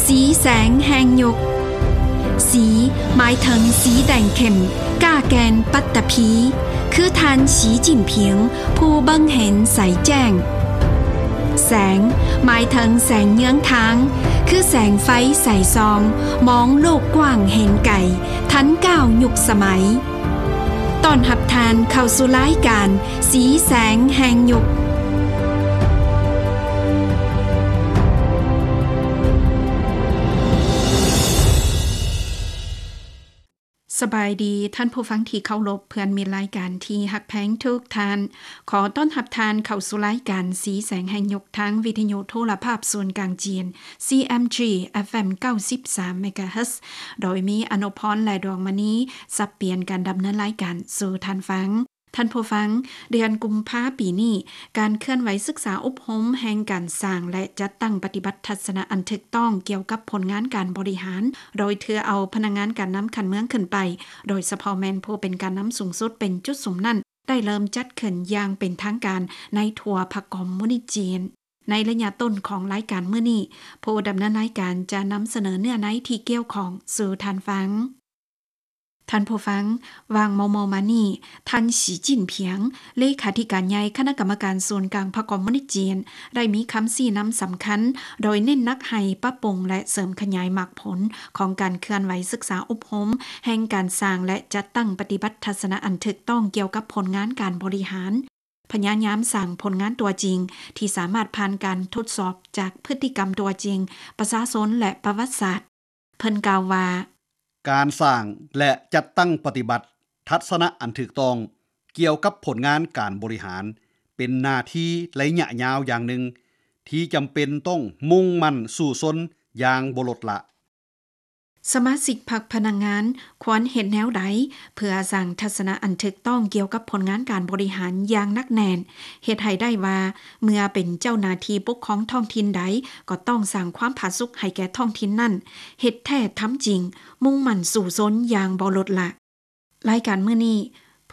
ສີແສງແຫ່ງຍຸກ. ສີ ໝາຍເຖິງສີແດງເຂັ້ມ, ກ້າແກ່ນ, ປັດຕະພີ, ຄືທ່ານ ສີຈິ້ນຜິງ ຜູ້ເບິ່ງເຫັນໃສແຈ້ງ. ແສງ ໝາຍເຖິງແສງເຍືອງທາງ, ຄືແສງໄຟໃສສ່ອງ, ມອງໂລກກວ້າງເຫັນໄກ, ທັນກ້າວຍຸກສະໄໝ. ຕ້ອນຮັບທ່ານເຂົ້າສູ່ລາຍການ ສີແສງແຫ່ງຍຸກ. ສະບາຍດີ ທ່ານຜູ້ຟັງທີ່ເຄົາລົບ, ເພື່ອນມິດລາຍການທີ່ຮັກແພງທຸກທ່ານ. ຂໍຕ້ອນຮັບທ່ານເຂົ້າສູ່ລາຍການ ສີແສງແຫ່ງຍຸກ ທາງວິທະຍຸໂທລະພາບສູນກາງຈີນ ຊີເອັມຈີ ເອັຟເອັມ ເກົ້າສິບສາມ ເມກາເຮີດ, ໂດຍມີອະນຸພອນ ແລະ ດວງມະນີ ສັບປ່ຽນການດຳເນີນລາຍການສູ່ທ່ານຟັງ. ທ່ານຜູ້ຟັງ, ເດືອນກຸມພາປີນີ້, ການເຄື່ອນໄຫວສຶກສາອົບຮົມແຫ່ງການສ້າງ ແລະ ຈັດຕັ້ງປະຕິບັດທັດສະນະອັນຖືກຕ້ອງກ່ຽວກັບຜົນງານການບໍລິຫານ, ໂດຍຖືເອົາພະນັກງານການນຳຂັ້ນເມືອງຂຶ້ນໄປ, ໂດຍສະເພາະແມ່ນຜູ້ເປັນການນຳສູງສຸດເປັນຈຸດສຸມນັ້ນ, ໄດ້ເລີ່ມຈັດຂຶ້ນຢ່າງເປັນທາງການໃນທົ່ວພັກຄອມມູນິດຈີນ. ໃນໄລຍະຕົ້ນຂອງລາຍການມື້ນີ້, ຜູ້ດຳເນີນລາຍການຈະນຳສະເໜີເນື້ອໃນທີ່ກ່ຽວຂ້ອງສູ່ທ່ານຟັງ. ທ່ານຜູ້ຟັງ, ຫວ່າງມໍ່ໆມານີ້, ທ່ານ ສີຈິ້ນຜິງ ເລຂາທິການໃຫຍ່ຄະນະກຳມະການສູນກາງພັກຄອມມູນິດຈີນ ໄດ້ມີຄຳຊີ້ນຳສຳຄັນ ໂດຍເນັ້ນໜັກໃຫ້ປັບປຸງ ແລະ ເສີມຂະຫຍາຍໝາກຜົນຂອງການເຄື່ອນໄຫວສຶກສາອົບຮົມແຫ່ງການສ້າງ ແລະ ຈັດຕັ້ງປະຕິບັດທັດສະນະອັນຖືກຕ້ອງກ່ຽວກັບຜົນງານການບໍລິຫານ, ພະຍາຍາມສ້າງຜົນງານຕົວຈິງທີ່ສາມາດຜ່ານການທົດສອບຈາກພຶດຕິກຳຕົວຈິງ, ປະຊາຊົນ ແລະ ປະຫວັດສາດ. ເພິ່ນກ່າວວ່າ, ການສ້າງ ແລະ ຈັດຕັ້ງປະຕິບັດທັດສະນະອັນຖືກຕ້ອງກ່ຽວກັບຜົນງານການບໍລິຫານ ເປັນໜ້າທີ່ໄລຍະຍາວຢ່າງໜຶ່ງ ທີ່ຈຳເປັນຕ້ອງມຸ່ງໝັ້ນສູ້ຊົນຢ່າງບໍ່ລົດລະ. ສະມາຊິກພັກພະນັກງານຄວນເຮັດແນວໃດ ເພື່ອສ້າງທັດສະນະອັນຖືກຕ້ອງກ່ຽວກັບຜົນງານການບໍລິຫານຢ່າງໜັກແໜ້ນ, ເຮັດໃຫ້ໄດ້ວ່າ ເມື່ອເປັນເຈົ້າໜ້າທີ່ປົກຄອງທ້ອງຖິ່ນໃດ ກໍຕ້ອງສ້າງຄວາມຜາສຸກໃຫ້ແກ່ທ້ອງຖິ່ນນັ້ນ, ເຮັດແທ້ທຳຈິງ, ມຸ່ງໝັ້ນສູ້ຊົນຢ່າງບໍ່ລົດລະ. ລາຍການມື້ນີ້,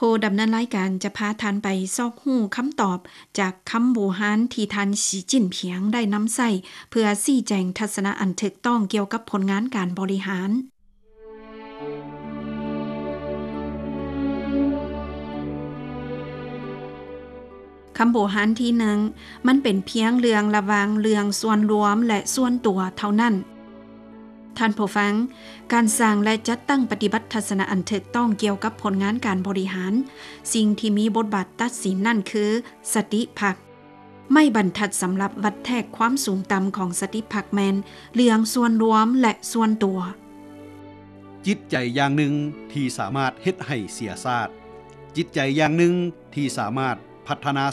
ຜູ້ດຳເນີນລາຍການຈະພາທ່ານໄປຊອກຮູ້ຄຳຕອບຈາກຄຳບູຮານທີ່ທ່ານ ສີຈິ້ນຜິງ ໄດ້ນຳໃຊ້ເພື່ອຊີ້ແຈງທັດສະນະອັນຖືກຕ້ອງກ່ຽວກັບຜົນງານການບໍລິຫານ. ຄຳບູຮານທີໜຶ່ງ, ມັນເປັນພຽງເລື່ອງລະຫວ່າງເລື່ອງສ່ວນລວມ ແລະ ສ່ວນຕົວເທົ່ານັ້ນ. ທ່ານຜູ້ຟັງ, ການສ້າງ ແລະ ຈັດຕັ້ງປະຕິບັດທັດສະນະອັນຖືກຕ້ອງກ່ຽວກັບຜົນງານການບໍລິຫານ, ສິ່ງທີ່ມີບົດບາດຕັດສິນນັ້ນຄືສະຕິພັກ. ໄມ້ບັນທັດສຳລັບວັດແທກຄວາມສູງຕ່ຳຂອງສະຕິພັກແມ່ນເລື່ອງສ່ວນລວມ ແລະ ສ່ວນຕົວ. ຈິດໃຈຢ່າງໜຶ່ງທີ່ສາມາດເຮັດໃຫ້ເສຍຊາດ, ຈິດໃຈຢ່າງໜຶ່ງທີ່ສາມາດພັດທະນາ